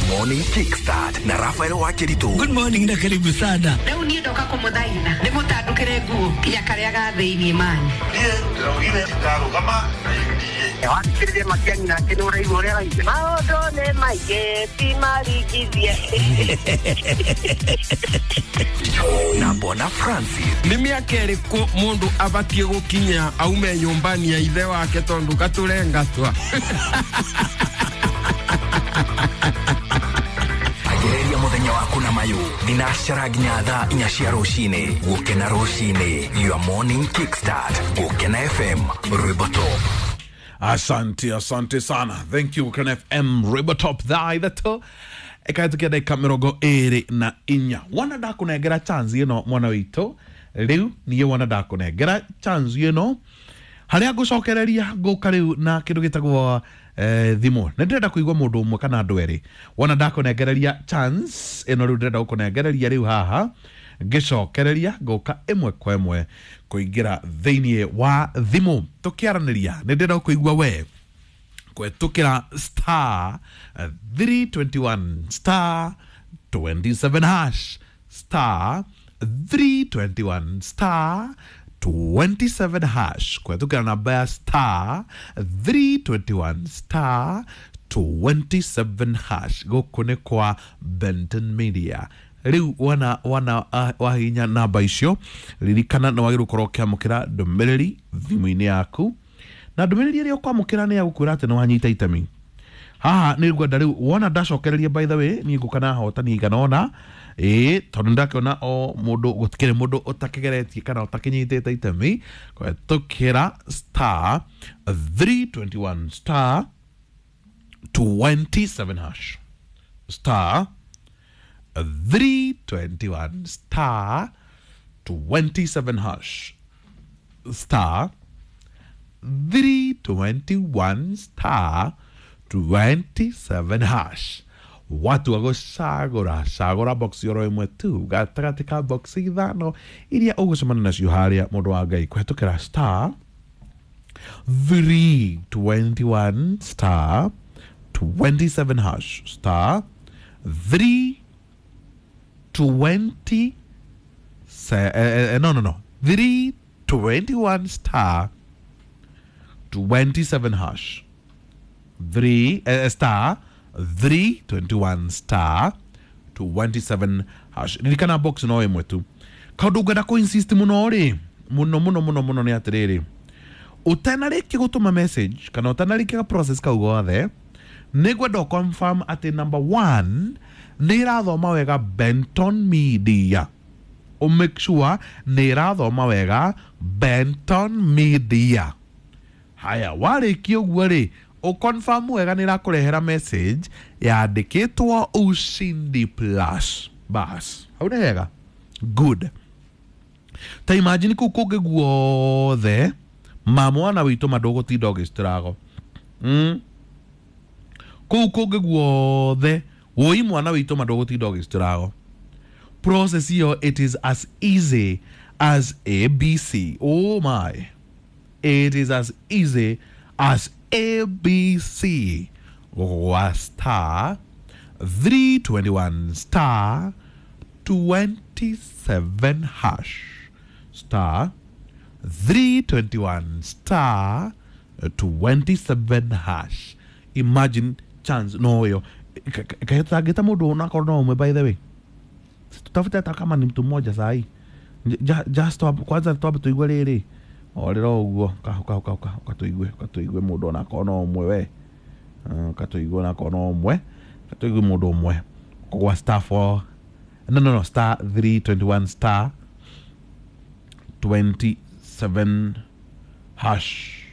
Morning Kickstart na Rafael Wakeritu. Good morning na karibu sana. Rĩu niĩ ndoka kũmũthaitha ndĩmũtandũkĩre nguo kinya karĩa ga thĩiniĩ mani. Niĩ ndĩraugire ndarũgama na UDA. Wathikĩrĩria Matiang'i nake nĩ ũraigua ũrĩa araigua. Maũndũ nĩ maingĩ ti marigithie. Na Bwana Francis. Nĩ mĩaka ĩrĩkũ mũndũ abatiĩ gũkinya aume nyũmbani ya ithe wake tondũ gatũrengatwa? Agereria muthenya waku na mayu thinacara nginya thaa 4 cia rucini. Gukena rucini, your morning kickstart. Gukena FM, Rwimbo Top. Asante, asante sana. Thank you Gukena FM, Rwimbo Top thaa 3 ĩkahĩtũkia ndagĩka 24. Wona ndakũnengera chance ĩno mwana witũ rĩu niĩ, wona ndakũnengera chance ĩno harĩa ngũcokereria ngũka rĩu na kĩndũ gĩtagwo thimũ. Nĩ ndĩrenda kũigua mũndũ ũmwe kana andũ erĩ. Wona ndakũnengereria chance ĩno rĩu ndĩrenda gũkũnengereria rĩu haha ngĩcokereria ngũka ĩmwe kwa ĩmwe kũingĩra thĩinĩ wa thimũ tũkĩaranĩria. Nĩ ndĩrenda kũigua we kũhetũkĩra star 321 star 27 hash, star 321 star 27 hash, kũhetũkĩra namba ya star 321 star 27 hash. Gũkũ nĩ kwa Benton Media. Rĩu wana wana wahihinya namba icio, ririkana nĩ wagĩrĩirwo gũkorwo ũkĩamũkĩra ndũmĩrĩri thimũ-inĩ yaku, na ndũmĩrĩri ĩrĩa ũkwamũkĩra nĩ ya gũkwĩra atĩ nĩ wanyita itemi haha. Nĩ ngwenda rĩu wona ndacokereria, by the way, niĩ ngũka na ahotani igana ũna, ĩĩ, tondũ nĩndakĩona o mũndũ gũtikĩrĩ mũndũ ũtakĩgeretie kana ũtakĩnyitĩte itemi kũhetũkĩra star 321 star 27 hash, star 321 star 27 hash, star 321 star 27 hash. Watu agũcagũra cagũra box oro ĩmwe tu gatagatĩ ka box 5 iria ũgũcemania nacio harĩa, mũndũ wa Ngai, kũhetũkĩra star 321 star 27 hash, star 320 no no no 321 star 27 hash, 3 star 321 star 27 hash. Ririkana box no ĩmwe tu. Kaũndũ ngwenda kũ insist mũno rĩ, mũno mũno mũno mũno, nĩ atĩrĩrĩ, ũtanarĩkia gũtũma message kana ũtanarĩkia process kau gothe, nĩ ngwenda confirm atĩ number 1 nĩ ĩrathoma wega Benton Media. Ũ make sure nĩ ĩrathoma wega Benton Media. Haya, warĩkia ũguo rĩ, ũconfirm wega nĩ ĩrakũrehera message yandĩkĩtwo Ushindi Plus. Bas, hau nĩ hega, good. Ta imagine kũu kũngĩ guothe ma mwana witũ ma ndũgũtinda ũgĩcitũrago. Kũu kũngĩ guothe woi mwana witũ ma ndũgũtinda ũgĩcitũrago. Process ĩyo, it is as easy as ABC. Oh my, it is as easy as ABC. Gwa star 321 star 27 hash, star 321 star 27 hash. Imagine chance no ĩyo kahĩtangĩta mũndũ onakorwo no ũmwe. By the way, tutafute hata kama ni mtu mmoja sahi. Just kwanza twambe tuigue rĩrĩ orĩra ũguo katũigue katũigue mũndũ onakorwo no ũmwe we katũigue onakorwo no ũmwe katũigue mũndũ ũmwe kũgwa star 4 no no no star 321 star 27 hash.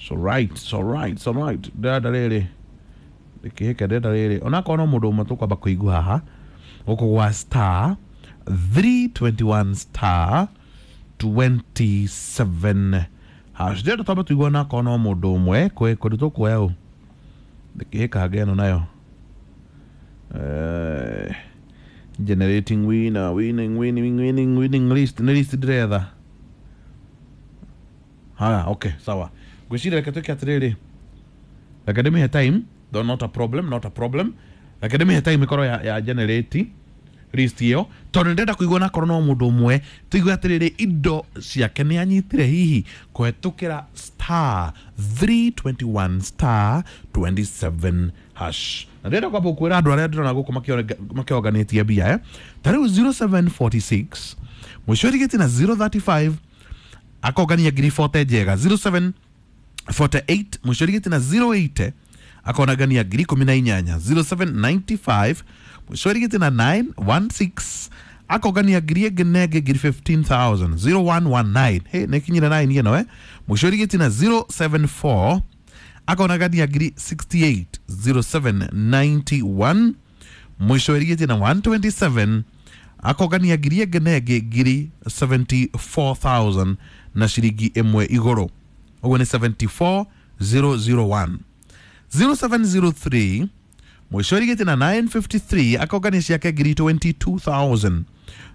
So right, so right, so right. Ndĩrenda rĩrĩ ndĩkĩhĩke, ndĩrenda rĩrĩ onakorwo no mũndũ ũmwe tũkwamba kũigua haha gũkũ gwa star 321 star 27 hash. Ndĩrenda twambe tũigue onakorwo no mũndũ ũmwe kwĩ kũndũ tũkuoya ũ ndĩkĩhĩkange ĩno nayo. Generating winner, winning, winning, winning, winning list. Nĩ list ndĩretha. Haya, okay, sawa. Ngwĩciria reke twĩke atĩrĩrĩ, reke ndĩmĩhe time though, not a problem, not a problem. Reke ndĩmĩhe time ĩkorwo ya generate list ĩyo, tondũ ndĩrenda kũigua nakorwo no mũndũ ũmwe tũigue atĩrĩrĩ indo ciake nĩ anyitire hihi kũhetũkĩra star 321 star 27 hash. Na ndĩrenda kwamba kwĩra andũ arĩa ndĩrona gũkũ makĩonganĩtie mbia, ta rĩu 0746 mũico ĩrigĩtie na 035 akongania ngiri 40 njega. 0748 mũico ĩrigĩtie na 080 akonagania ngiri 18. 0795 mũico ĩrigĩtie na 916 akongania ngiri ĩngĩ na ĩngĩ ngiri 15,000. 0119 hey, nĩkinyire 9 ĩno, mũico ĩrigĩtie na 074 akonagania ngiri 68. 0791 mũico ĩrigĩtie na 127 akongania ngiri ĩngĩ na ĩngĩ ngiri 74,000 na ciringi ĩmwe igũrũ, ũguo nĩ 74001. 0703 mũico ĩrigĩtie na 953 akongania ciake ngiri 22,000.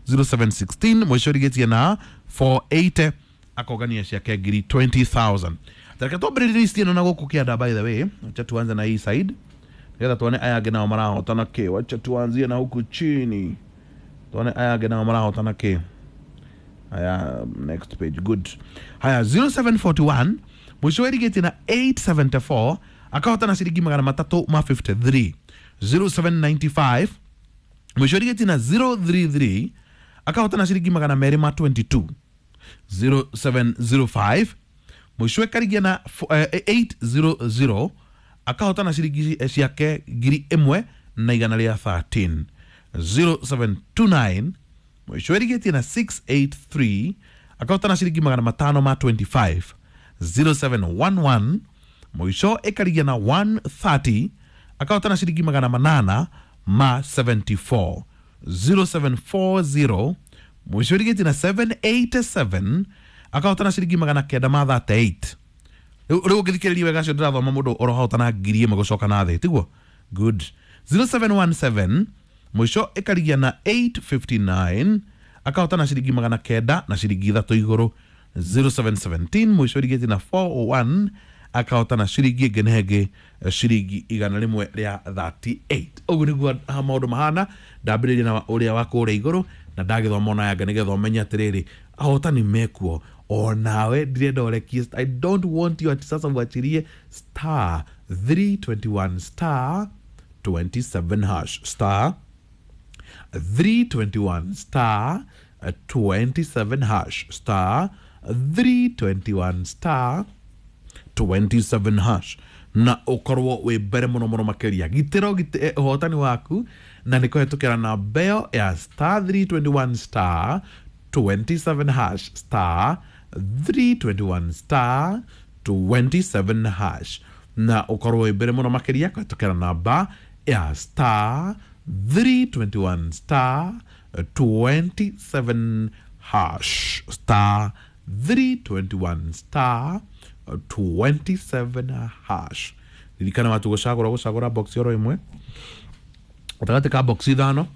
0716 mũico ĩrigĩtie na 480 akongania ciake ngiri 20,000. Reke twambĩrĩrie list ĩno na gũkũ kĩanda. By the way, acha tuanze na hii side nĩgetha tuone aya angĩ nao marahotana kĩ. Wacha tuanzie na huku chini tuone aya angĩ nao marahotana kĩ. Haya, next page, good. Haya, 0741 mũico ĩrigĩtie na 874 akahotana ciringi 353. 0795 mũico ĩrigĩtie na 033 akahotana ciringi 222. 0705 mũico ĩkarigia na 800 akahotana ciringi ciake ngiri ĩmwe na igana rĩa 13. 0729 mũico ĩrigĩtie na 683 akahotana ciringi 525. 0711 mũico ĩkarigia na 130 akahotana ciringi 874. 0740 mũico ĩrigĩtie na 787 akahotana ciringi 938. Rĩu ũngĩthikĩrĩria wega acio ndĩrathoma mũndũ ũrohotana ngiri ĩmwe gũcoka na thĩ, tiguo? Good. 0717 mũico ĩkarigia na 859 akahotana ciringi 900 na ciringi 3 igũrũ. 0717 mũico ĩrigĩtie na 401 akahotana ciringi ĩngĩ na ĩngĩ ciringi 138. Ũguo nĩguo maũndũ mahana. Ndambĩrĩria na ũrĩa wa kũrĩa igũrũ na ndagĩthoma ona yanga nĩgetha ũmenye atĩrĩrĩ ahotani mekuo. Onawe ndirenda ũrekie, I don't want you ati sasa uachirie star 321 star 27 hash, star 321 star 27 hash, star 321 star 27 hash, na ũkorwo wĩ mbere mũno mũno makĩria. Gitĩra ũhotani waku na nĩ kũhetũkĩra namba ĩyo ya star 321 star 27 hash, star 321 star 27 hash, na ũkorwo wĩ mbere mũno makĩria kũhetũkĩra namba ya star 321 star 27 hash, star 321 star 27 hash. Ririkana watu gũcagũra box oro ĩmwe gatagatĩ ka box ithano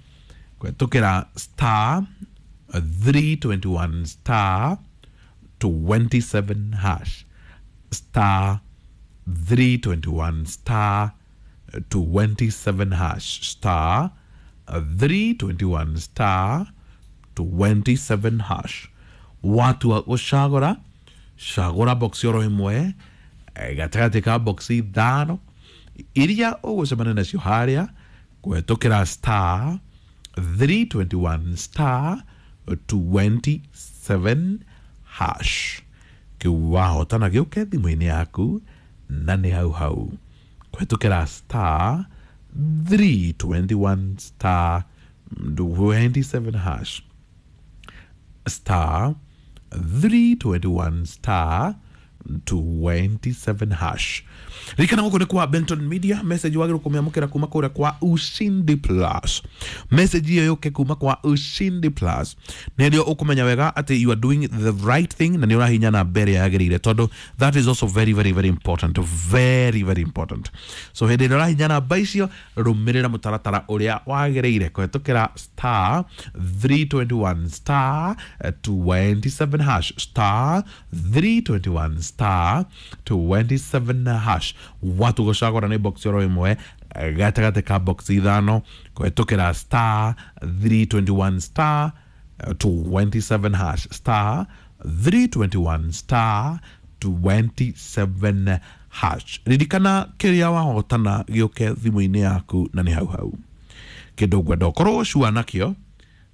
kũhetũkĩra star 321 star 27 hash, star 321 star 27 hash, star 321 star 27 hash. Watu wa gũcagũra cagũra box oro ĩmwe gatagatĩ ka box ithano iria ũgũcemania nacio harĩa kũhetũkĩra star 321 star 27 hash. Kĩu wahotana gĩũke thimũ-inĩ yaku na nĩ hau hau kũhetũkĩra star 321 star 27 hash, star 321 star 27 hash. Ririkana gũkũ nĩ kwa Benton Media. Message wagĩrĩirwo kũmĩamũkĩra kuma kũrĩa kwa Ushindi Plus. Message ĩyo yũke kuma kwa Ushindi Plus nĩrĩo ũkũmenya wega atĩ you are doing the right thing na nĩ ũrahinya namba ĩrĩa yagĩrĩire, tondũ that is also very very very important, very very important. So hĩndĩ ĩrĩa ũrahinya namba icio rũmĩrĩra mũtaratara ũrĩa wagĩrĩire kũhetũkĩra star 321 star 27 hash, star 321 star 27 hash. Watu gũcagũra nĩ box oro ĩmwe gatagatĩ ka box ithano kũhetũkĩra star 321 star 27 hash, star 321 star 27 hash. Ririkana kĩrĩa wahotana gĩũke thimũ-inĩ yaku na nĩ hau hau. Kĩndũ ngwenda ũkorwo cua nakĩo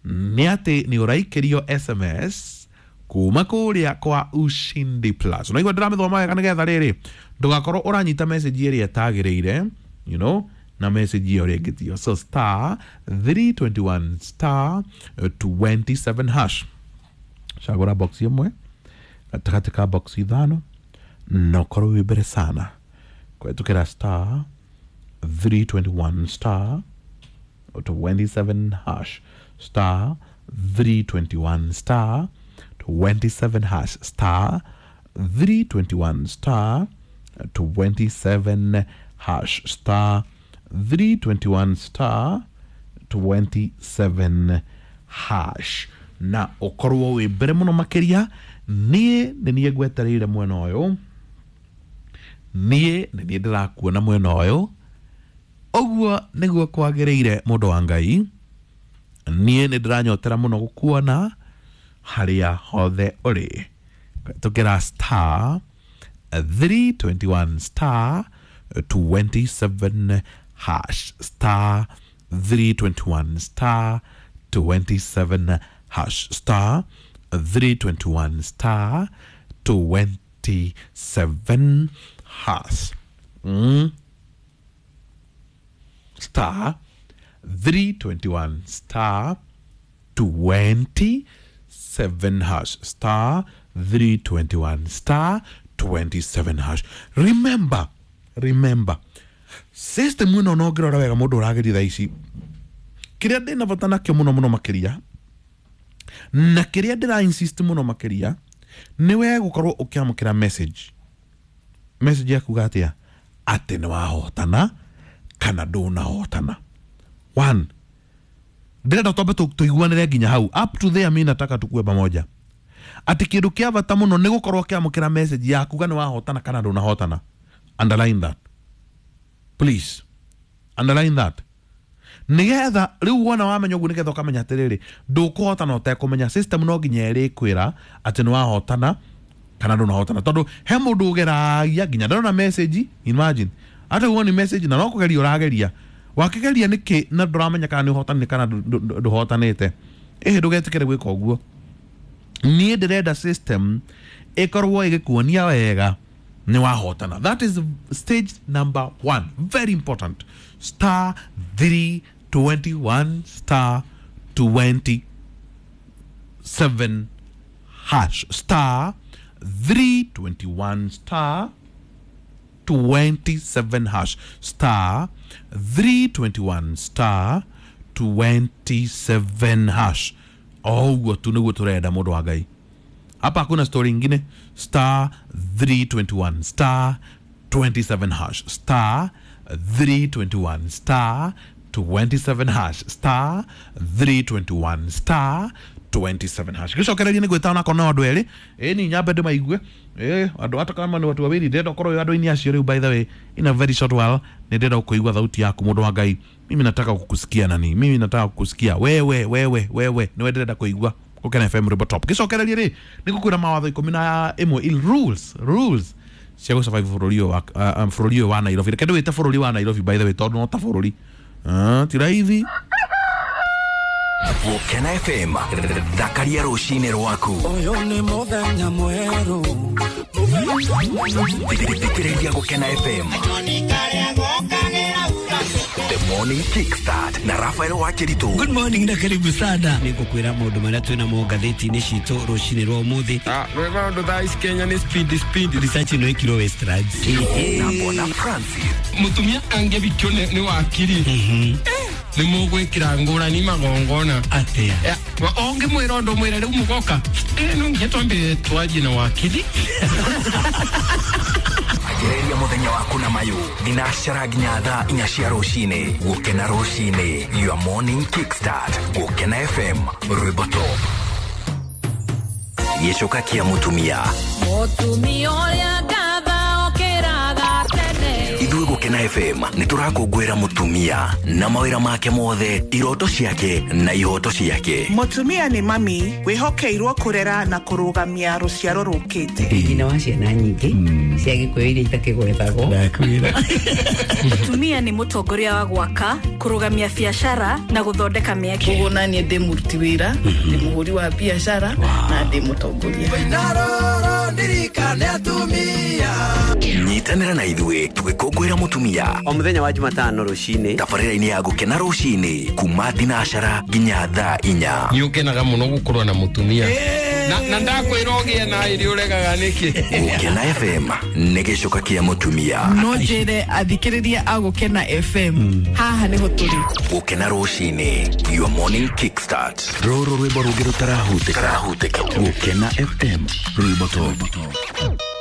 nĩ atĩ nĩ ũraikĩrio SMS kuma kũrĩa kwa Ushindi Plus. Unaigua ndĩramĩthoma wega nĩgetha rĩrĩ ndũgakorwo ũranyita message ĩrĩa ĩtagĩrĩire, you know, na message ĩyo rĩngĩ tiyo. So star 321 star 27 hash, cagũra box ĩmwe gatagatĩ ka box ithano na ũkorwo wĩ mbere sana kũhetũkĩra star 321 star 27 hash, star 321 star 27 hash, star 321 star 27 hash, star 321 star 27 hash, na ũkorwo wĩ mbere mũno makĩria. Niĩ nĩ niĩ ngwetereire mwena ũyũ, niĩ nĩ niĩ ndĩrakuona mwena ũyũ, ũguo nĩguo kwagĩrĩire mũndũ wa Ngai. Niĩ nĩ ndĩranyotera mũno gũkuona harĩa hothe ũrĩ. Tũkĩra star 321 star 27 hash, star 321 star 27 hash, star 321 star 27 hash. Star 321 star 27 hash, star 321 star 27 hash. Remember, system ĩno no ngĩrora wega mũndũ ũrageria thaa ici, kĩrĩa ndĩna bata nakĩo mũno mũno makĩria na kĩrĩa ndĩra insist mũno makĩria nĩ we gũkorwo ũkĩamũkĩra message ya kuga atĩa, atĩ nĩ wahotana kana ndũnahotana. One, ndĩrenda twambe tũiguanĩre nginya hau, up to there mi nataka tukue pamoja, atĩ kĩndũ kĩa bata mũno nĩ gũkorwo ũkĩamũkĩra message ya kuga nĩ wahotana kana ndũnahotana. Underline that, please, underline that, nigetha riu wona wamenya ũguo, nigetha ũkamenya atĩrĩrĩ ndũkũhotana ũtekũmenya. System no nginya ĩrĩkwĩra atĩ nĩ wahotana kana ndũnahotana, tondũ he mũndũ ũgeragia nginya ndarona message. Imagine ata woni message na no kũgeria ũrageria, wakĩgeria nĩkĩ na ndũramenya kana nĩ ũhotanĩte kana ndũhotanĩte. Ĩhĩ, ndũgetĩkĩre gwĩka ũguo. Niĩ ndĩrenda system ĩkorwo ĩgĩkuonia wega nĩ wahotana. That is stage number 1, very important. Star 321 star 27 hash, star 321 star 27 hash, star 321 star 27 hash. Oguo tu nĩguo tũrenda mũndũ wa Ngai. Hapa hakuna story ingine. Star 321 star 27 hash, star 321 star 27 hash, star 321 star 27 hash. Gĩcokererie nĩ gwĩta onako no andũ erĩ, ĩ ni nyambe ndĩmaigue, andũ hata kama nĩ watu wawili, ndĩrenda ũkorwo wĩ andũ-inĩ acio rĩu. By the way, in a very short while nĩ ndĩrenda kũigua thauti yaku mũndũ wa Ngai. Mimi nataka kukusikia nani, mimi nataka kukusikia wewe, wewe, wewe nĩwe ndĩrenda kũigua. Gũkena FM Rwĩmbo Top. Gĩcokererie rĩ nĩ ngũkwĩra mawatho 11 il rules cia gũ survive bũrũri ũyũ wa Nairobi. Reke ndĩwĩte bũrũri wa Nairobi by the way, tondũ no ta bũrũri ti raithi. Gũkena FM, thakaria rũcinĩ rwaku. Ũyũ nĩ mũthenya mwerũ. Thikĩrĩria Gũkena FM. The Morning Kickstart na Rafael Wakiritu. Good morning na karibu sana. Nĩngũkwĩra maũndũ marĩa twĩna mo ngathĩti-inĩ citũ rũcinĩ rwa ũmũthĩ. Rwĩma ũndũ thaa ici Kenya nĩ speed. Research ĩno ĩkirwo Westlands. Na Bona Francis. Mũtumia angĩbikio nĩ wakiri. Nĩ mũgwĩkĩra ngũrani magongona. Atĩa? Ũngĩmwĩra ũndũ mwĩre rĩu mũgoka. No nginya twambe twarie na wakiri. Anjĩrĩria mũthenya waku na mayũ thinacara nginya thaa 4 cia rũcinĩ. Gũkena rũcinĩ, your morning kickstart. Gũkena FM Rwĩmbo Top. Gĩcoka kĩa mũtumia. Mũtumia ũrĩa ngatha okĩraga tene. Ithuĩ Gũkena Gũkena FM nĩ tũrakũngũĩra mũtumia na mawĩra make mothe, iroto ciake na ihoto ciake. Mũtumia nĩ mami wĩhokeirwo kũrera na kũrũgamia rũciaro rũkĩte. Nyina wa ciana nyingĩ cia gĩkũyũ iria itakĩgwetagwo. Mũtumia nĩ mũtongoria wa gwaka, kũrũgamia biacara na gũthondeka mĩeke. Koguo naniĩ ndĩ mũruti wĩra, ndĩ mũhũri wa biacara na ndĩ mũtongoria. Nyitanĩra na ithuĩ tũgĩkũngũĩra mũtumia o mũthenya wa Jumatano rũcinĩ tabarĩra-inĩ ya Gũkena rũcinĩ kuma thinacara nginya thaa 4. Nĩ ũkenaga mũno gũkorwo na mũtumia na ndakwĩra ũgĩe na ĩrĩ ũregaga nĩkĩ. Gũkena FM nĩ gĩcoka kĩa mũtumia. No njĩre athikĩrĩria a Gũkena FM haha nĩho tũrĩ. Gũkena rũcinĩ, your morning kickstart. Rũrũ rwĩmbo rũngĩ rũtarahutĩka. Gũkena FM, rwĩmbo top.